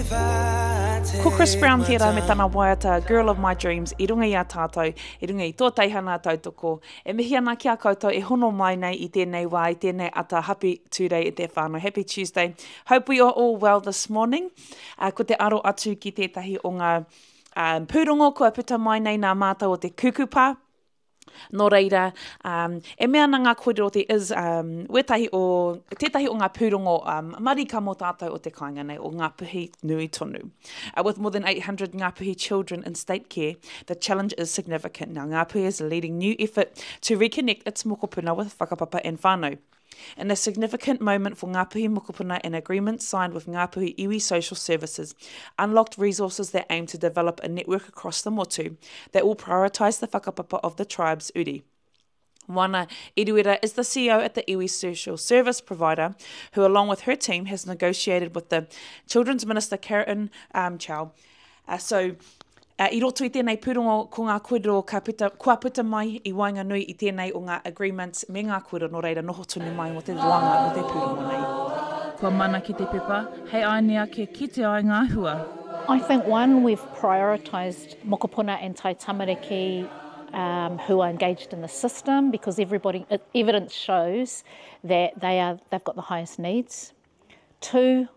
Ko Chris Brown tērā me tana waiata Girl of My Dreams i runga i a tātou, i runga i tō teihana tautoko. E mihi ana ki a koutou e hono mai nei i tēnei wā, i tēnei ata Happy Tūrei e te whānau. Happy Tuesday. Hope we are all well this morning. Uh, ko te aro atu ki tētahi o ngā um, pūrongo kua puta mai nei nā mātou o te kukupa. Nō reira, um, e mea ana ngā kōrero there is um, wētahi o, tētahi o ngā pūrongo um, marika mō tātou o te kāinga nei, o Ngāpuhi nui tonu. Uh, with more than 800 Ngāpuhi children in state care, the challenge is significant. Now, Ngāpuhi is leading new effort to reconnect its mokopuna with whakapapa and whānau. In a significant moment for Ngāpuhi Mokopuna, an agreement signed with Ngāpuhi Iwi Social Services unlocked resources that aim to develop a network across the motu that will prioritise the whakapapa of the tribe's uri. Wana Eruera is the CEO at the Iwi Social Service Provider, who along with her team has negotiated with the Children's Minister Karen um, Chow. Uh, so, uh, i roto i tēnei pūrongo, ko ngā kōrero ka puta, kua puta mai i waenganui i tēnei o ngā agreements me ngā kōrero, nō reira noho tonu mai mō te roanga o te pūrongo nei. Kua mana ki te pepa, hei aene ake kite ai ngā hua. I think one, we've prioritised mokopuna and tai tamariki um, who are engaged in the system because everybody, evidence shows that they are, they've got the highest needs. Two,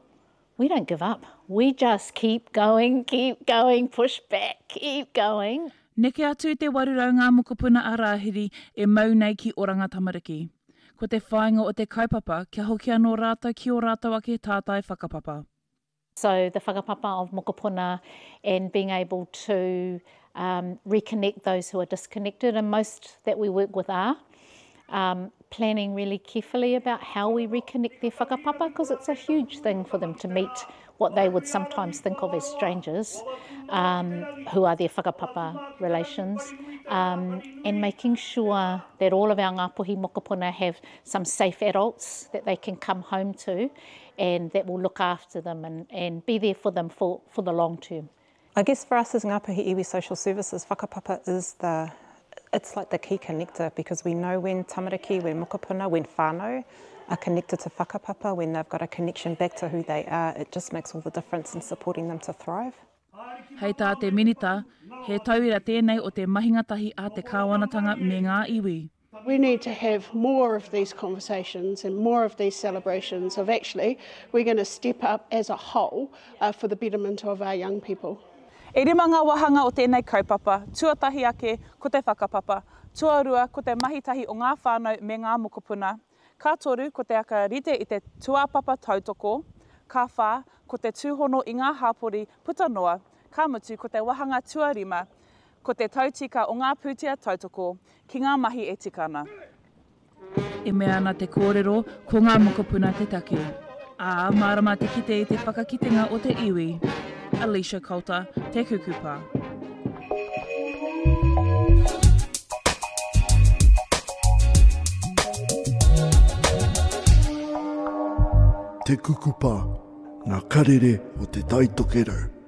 we don't give up. We just keep going, keep going, push back, keep going. Neke atu i te 800 ngā mokopuna a Rāhiri e mau nei ki Oranga Tamariki. Ko te whāinga o te kaupapa kia hoki anō rātou ki ō rātou ake tātai whakapapa. So the whakapapa of mokopuna and being able to um, reconnect those who are disconnected and most that we work with are. Um, planning really carefully about how we reconnect their whakapapa because it's a huge thing for them to meet what they would sometimes think of as strangers um, who are their whakapapa relations um, and making sure that all of our Ngāpuhi mokopuna have some safe adults that they can come home to and that will look after them and, and be there for them for, for the long term. I guess for us as Ngāpuhi Iwi Social Services, whakapapa is the it's like the key connector because we know when tamariki, when mokopuna, when whānau are connected to whakapapa, when they've got a connection back to who they are, it just makes all the difference in supporting them to thrive. Hei tā te Minita, he tauira tēnei o te mahinga tahi a te kāwanatanga me ngā iwi. We need to have more of these conversations and more of these celebrations of actually we're going to step up as a whole uh, for the betterment of our young people. E rima ngā wāhanga o tēnei kaupapa, tuatahi ake ko te whakapapa, tuarua ko te mahi tahi o ngā whānau me ngā mokopuna, ka toru ko te aka rite i te tūāpapa tautoko, ka whā ko te tūhono i ngā hapori puta noa, ka mutu ko te wāhanga tuarima Ko te tautika o ngā pūtea tautoko ki ngā mahi e tika ana. E mea ana te kōrero, ko ngā mokopuna te take. Ā, mārama te kite i te whakakitenga o te iwi. Alicia Coulter, Te Kukupa. Te Kukupa, ngā karere o Te Tai Tokerau.